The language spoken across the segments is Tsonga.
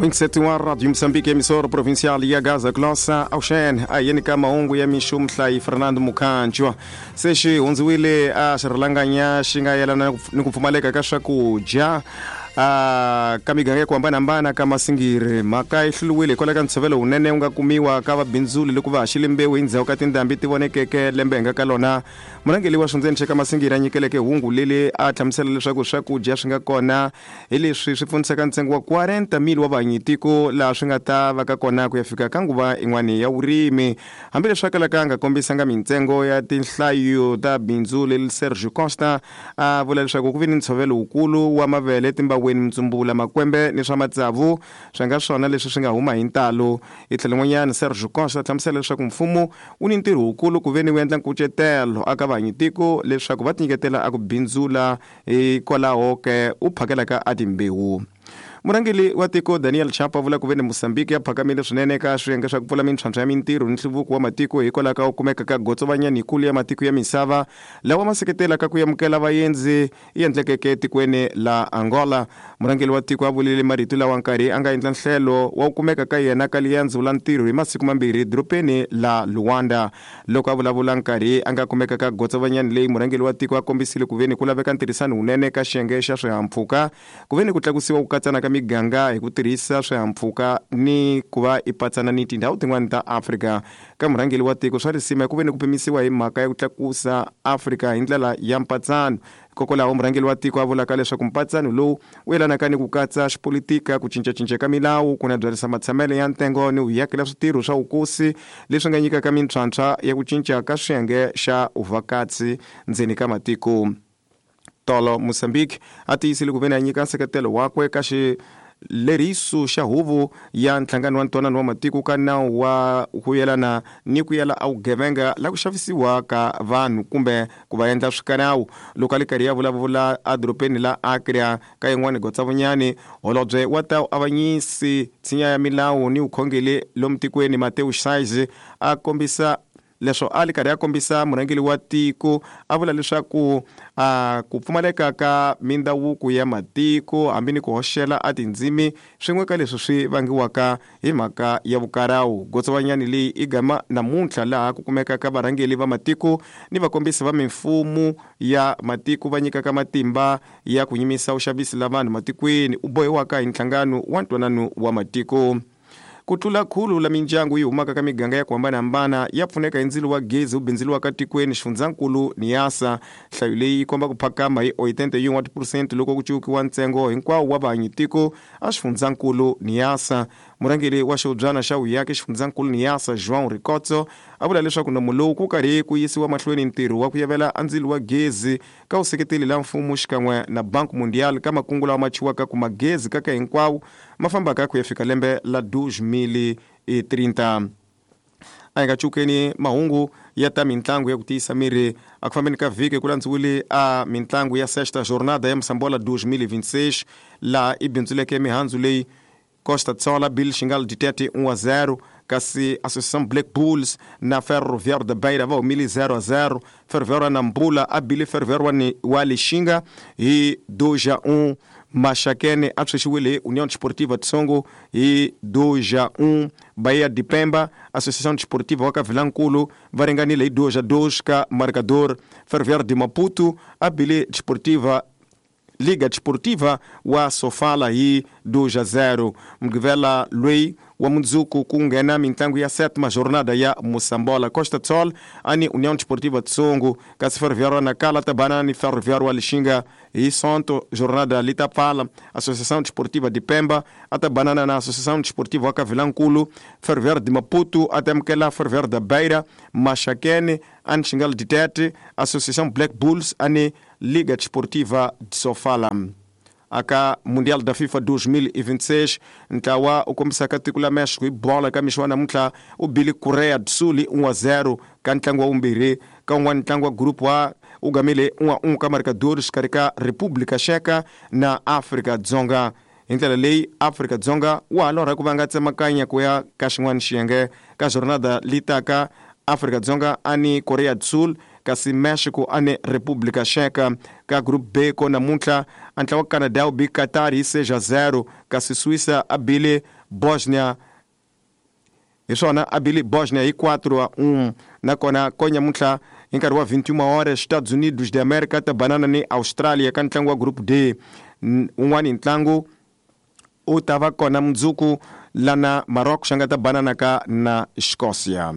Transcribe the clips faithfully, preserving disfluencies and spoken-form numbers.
Mwingiseti wa Radio Moçambique, emissora provincial ya Gaza Glossa Auxen, ayeni ka mahungu ya mixo muhlayi Fernando Mukhanjwa. Se xi hundziwile a xirhalanganya xi nga yelana ni ku pfumaleka ka swakudya a ka miganga ya ku hambanahambana ka Masingiri. Mhaka yi hluriwile hikwalaho ka ntshovelo wunene wu nga kumiwa ka vabindzuli loko va haxile mbewu hi ndzhaku ka tindhambi ti vonekeke lembe hi nga ka lona. Murhangeri wa xindzeni xa ka Masingiri a nyikeleke hungu leri a hlamusela leswaku swakudya swi nga kona hi leswi swi pfunisaka ntsengo wa quarenta mil wa vahanyitiko laha swi nga ta va ka kona ku ya fika ka nguva yin'wana ya vurimi. Hambileswi a kalaka a nga kombisanga mintsengo ya tinhlayo ta bindzu leri, Sergio Costa a vula leswaku ku vi ni ntshovelo wukulu wa mavele, timbaweni, mintsumbula, makwembe ni swa matsavu swi nga swona leswi swi nga huma hi ntalo. Hi tlhelo n'wanyana, Sergio Costa a hlamusela leswaku mfumo wu ni ntirho wukulu ku ve ni wu endla nkucetelo aka vahanyitiko leswaku va tinyiketela a ku bindzula hikwalaho ke u phakelaka a timbewu. Murhangeri wa tiko Daniel Chapo a vula ku ve ni Mozambique ya phakamile swinene eka swiyenge swa ku pfula mintlhontlho ya mintirho ni nhluvuko wa matiko hikwalaho ka ku kumeka ka gotsovanyani yikulu ya matiko ya misava lawa ma seketelaka ku amukela vaendzi yi endlekeke etikweni la Angola. Murhangeri wa tiko a vulile marito lawa nkarhi a nga endla nhlelo wa ku kumeka ka yena ka liendzo la ntirho hi masiku mambirhi dorobeni la Luanda. Loko a vulavula nkarhi a nga kumeka ka gotsovanyani leyi, murhangeri wa tiko a kombisile ku ve ni ku laveka ntirhisano wunene ka xiyenge xa swihahampfhuka ku ve ni ku tlakusiwa ku katsana ka miganga hi ku tirhisa swihahampfhuka ni ku va i patsana ni tindhawu tin'wana ta Afrika. Ka murhangeri wa tiko swa risima ku ve ni ku pimisiwa hi mhaka ya ku tlakusa Afrika hi ndlela ya mpatsano. Hikokwalaho murhangeri wa tiko a vulaka leswaku mpatsano lowu wu yelanaka ni ku katsa xipolitika, ku cincacinca ka milawu, ku nabyarisa matshamelo ya ntengo ni ku yakela switirho swa vukosi leswi nga nyikaka mintlhontlho ya ku cinca ka swiyenge xa vuvhakatsi ndzeni ka matiko. Tolo Mozambique a tiyisile ku ve ni a nyika nseketelo wakwe ka xileriso xa huvo ya nhlangano wa ntwanano wa matiko ka nawu wa ku yelana ni ku yela a vugevenga la ku xavisiwa ka vanhu kumbe ku va endla swikanawu. Loko a li karhi ya vulavula edorobeni la Accra ka yin'wana gotsavunyani, holobye wa ta avanyisi tshinya ya milawu ni vukhongeri lomu tikweni Mateus Saiz a kombisa leswo a li karhi a kombisa murhangeri wa tiko a vula leswaku a ku pfumaleka ka mindhavuko ya matiko hambi ni ku hoxela a tindzimi swin'we ka leswi swi vangiwaka hi mhaka ya vukarawu. Gotsovanyani leyi i gama namuntlha laha ku kumekaka varhangeri va matiko ni vakombisi va mimfumo ya matiko va nyikaka matimba ya ku nyimisa vuxavisi la vanhu matikweni u bohiwaka hi nhlangano wa ntwanano wa matiko. Ku tlula khulu la mindyangu yi humaka ka miganga ya ku hambanahambana ya pfuneka hi ndzilo wa gezi wu bindzuriwaka tikweni xifundzankulu Niassa. Nhlayo leyi yi komba ku phakama hi oitenta e um wa tiphesente loko ku cukiwa ntsengo hinkwawo wa vahanyitiko a xifundzankulu Niassa. Murhangeri wa xihubyana xa vuyaki xifundzankulu Niassa, João Ricotso, a vula leswaku nomo lowu ku karhi ku yisiwa mahlweni ntirho wa ku yavela a ndzilo wa gezi ka vuseketeli la mfumo xikan'we na Banco Mundial ka makungu lawa ma chiwaka ku magezi kaka hinkwawo ma fambaka ku ya fika lembe la dois mil e trinta. A hi nga cukeni mahungu ya ta mintlangu ya ku tiyisa miri. A ku fambeni ka vhiki ku landziwile a mintlangu ya sexta jornada ya Mosambola dois mil e vinte e seis laha i bindzuleke mihandzu leyi Costa Tsola Bill Xingal Ditete um a zero, kasi Associação Black Bulls na Ferroviário da Beira va humile zero a zero. Ferroviário wa Nampula a bile Ferroviário wa Lixinga hi dois a um. Maxakene a tshwexiwile hi União Desportiva de Songo hi dois a um. Bahia de Pemba, Associação Desportiva wa ka Vilankulu va ringanile hi dois a dois ka marcador. Ferroviário de Maputo a bile Desportiva Liga Desportiva wa Sofala hi dois a zero. Mugqivela loyi wa mundzuku ku nghena mintlangu ya sétima jornada ya Mosambola. Costa Tsol ani União Desportiva de Songo, kasi Ferroviário wa Nacala ta bana ni Ferroviário wa Lixinga hi Sonto. Jornada li ta pfala. Associação Desportiva de Pemba a ta banana na Associação Desportiva wa ka Vilankulu. Ferroviário de Maputo a ta amukela Ferroviário da Beira. Maxakene ani Xingal Ditete, Associação Black Bulls ani Liga Desportiva de Sofala. Aka Mundial da FIFA dois mil e vinte e seis, ntlawa u kombisaka tiko la México hi bola ka mixo wa namuntlha u bile Korea do Sul um a zero ka ntlangu wa vumbirhi. Ka un'wana ntlangu wa group wa u gamile um a um ka marcadores xikarhi ka República Checa na Afrika Dzonga. Hi ndlela leyi Afrika Dzonga wa ha lorha ku va nga tsemakanya ku ya ka xin'wana xiyenge ka jornada li taka. Afrika Dzonga ani Korea do Sul kasi Mexico ane República Checa. Ka Group B ko namuntlha a ntlawa wa Canada wu bi Qatar hi seis a zero, kasi Suíça a bile Bosnia hi swona a bile Bosnia hi quatro a um. Nakona ko nyamuntlha hi nkarhi wa vinte e uma horas Estados Unidos de América ta banana ni Australia ka ntlangu wa Group D. Un'wani ntlangu u ta va kona mundzuku lana Maroc xa nga ta banana ka na Escócia.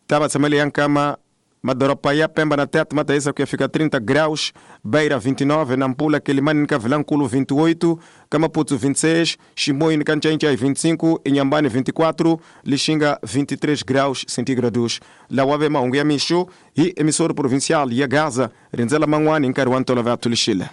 Ta va tshamele ya nkama madoroba ya Pemba na Tete ma ta yisa ku ya fika trinta graus, Beira vinte e nove, Nampula, Quelimane ni ka Vilankulu vinte e oito, ka Maputo vinte e seis, Chimoio ni ka Nchainchai vinte e cinco, Inhambane vinte e quatro, Lixinga vinte e três graus centígrados. Lawa ve mahungu ya mixo hi emissora provincial ya Gaza, rindzela man'wani hi nkarhi wa ntolovelo lixile.